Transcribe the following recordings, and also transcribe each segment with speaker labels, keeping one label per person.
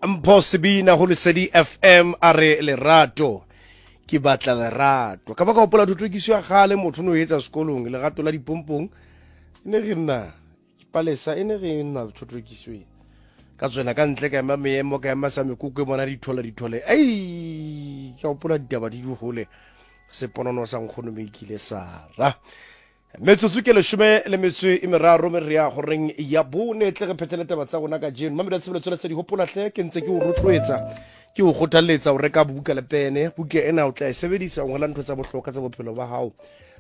Speaker 1: Mpho Sebina go Lesedi FM a re lerato ke batla lerato. Ka ba ka gopola thothokiso ya gale motho no etsa sekolong lerato la dipompong e ne re nna ke palesa e ne re nna thothokiso e. Ka tswela ka ntle ka ema meemo ka ema sa mekoko e bona dithola dithole. Ei ka gopola ditaba di di gole seponono sa nkgono me ikile sara. Metsotso ke leshome le metso e meraro me re ya goreng ya bone tle re phethele taba tsa rona kajeno. Mamelo ya tshebeletso la di hopola hle ke ntse ke o rotloetsa ke o kgothaletsa o reka buka le pene. Buka ena o tla e sebedisa o ngola ntho tsa bohlokwa tsa bophelo ba hao,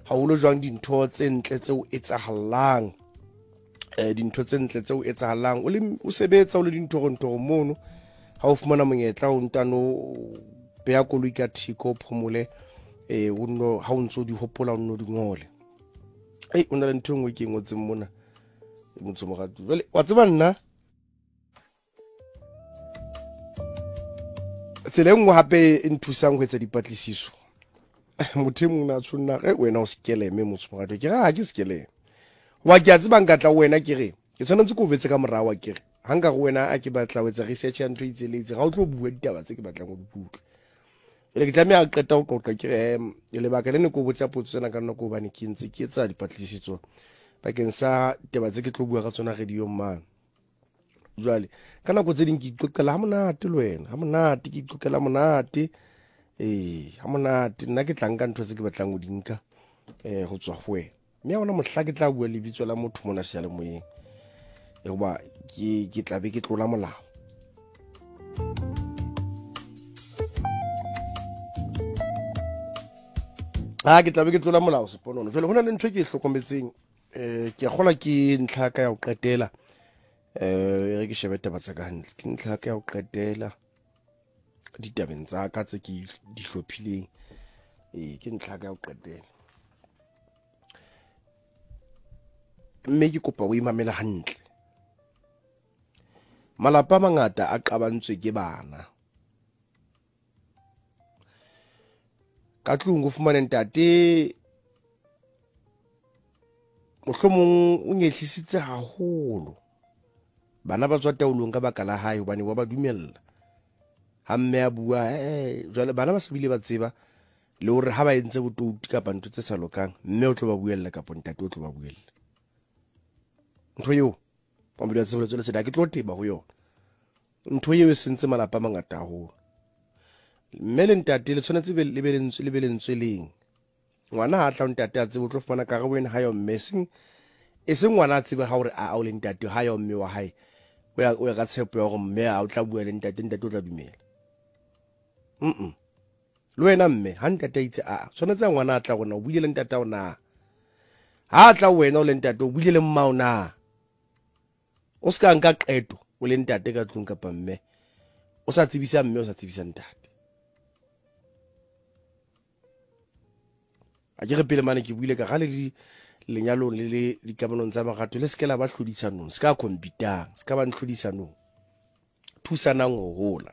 Speaker 1: haholo jwang dintho tse ntle tse o etsahallang. Dintho tse ntle tse o etsahallang o le o sebetsa o le dinthorontoro mono, ha o fumana monyetla o ntano beya koloi ka thiko o phomole, o nno ha o ntso di hopola o nno di ngole. Ei, o na le ntho e nngwe ke e ngotseng mona motho moratu. Jwale wa tseba nna tsela e nngwe hape e nthusang ho etsa dipatlisiso, motho e mong na tshonna ge wena o sekeleme motho moratu, ke re ha ke sekeleme wa ke a tseba nka tla ho wena ke re ke tshwanetse ke o betse ka morao wa ke re ha nka go wena a ke batla ho etsa research ya ntho e itseng le itseng, ga o tlo bua ditaba tse ke batlang ho di utlwa. Jwale ke tlameha ho qeta ho qoqa ke re lebaka le ne ke o botsa potso tsena ka nna ke hobane ke ntse ke etsa dipatlisiso bakeng sa taba tse ke tlo bua ka tsona radiong mane. Jwale ka nako tse ding ke iqoqela ha monate le wena, ha monate ke iqoqela monate, ee ha monate nna ke tla nka ntho tse ke batlang ho di nka ho tswa ho wena. Mme ha hona mohla ke tla bua lebitso la motho mona seyalemoyeng, hoba ke tla be ke tlola molao. Ha ke tla be ke tlola molao seponono. Jwale ho na le ntho e ke e hlokometseng, ke a kgolwa ke ntlha ka ya ho qetela, e re ke shebe taba tsa ka hantle, ke ntlha ka ya ho qetela ditabeng tsa ka tse ke di hlophileng, ke ntlha ka ya ho qetela. Mme ke kopa o imamele hantle. Malapa a mangata a qabantswe ke bana. Ka tlung o fumane ntate mohlomong o nyehlisitse haholo. Bana ba tswa taolong ka baka la hae hobane wa ba dumella. Ha mme a bua, jwale bana ba se bile ba tseba le hore ha ba entse botouti kapa ntho tse sa lokang, mme o tlo ba buella kapa ntate o tlo ba buella. Ntho eo, pampiri ya tshebeletso le seda ke tlo teba ho yona. Ntho eo e sentse malapa a mangata haholo. Mme le ntate le tshwanetse le be lentswe, le be lentswe leng. Ngwana ha tla ntate a tsebe o tlo fumana karabo ena ha yo mme, e seng ngwana a tsebe ha hore a o le ntate ha yo mme wa hae. O ya ka tshepo ya hore mme a o tla bua le ntate, ntate o tla dumela. Le wena mme ha ntate a itse a tshwanetse a ngwana a tla rona o buile le ntate o na. Ha tla wena o le ntate o buile le mmao na. O se ka nka qeto o le ntate ka tlung kapa mme o sa tsebisa mme o sa tsebisa ntate. A ke re pele mane ke buile ka ga le di lenyalong le le dikamanong tsa marato le se ke la ba hlodisanong, se ka competang, se ka ba ntlhodisanong. Thusanang ho hola.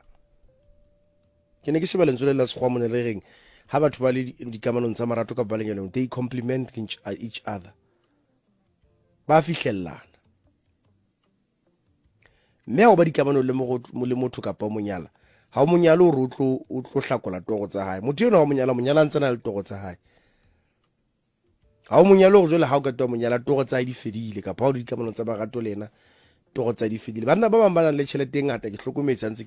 Speaker 1: Ke ne ke sheba lentswe le la sekgowa mone le reng ha batho ba le dikamanong tsa marato kapa ba lenyalong, they complement each other. Ba fihlellana. Mme ha o ba dikamanong le motho kapa o monyala, ha o monyale hore o tlo hlakola toro tsa hae. Motho enwa wa monyala, monyala a ntse na le toro tsa hae. Ha o monyale hore jwale ha o qeta ho monyala toro tsa hae di fedile, kapa ha o le dikamanong tsa marato le yena toro tsa hae di fedile. Banna ba bang ba nang le tjhelete e ngata ke hlokometse ha ntse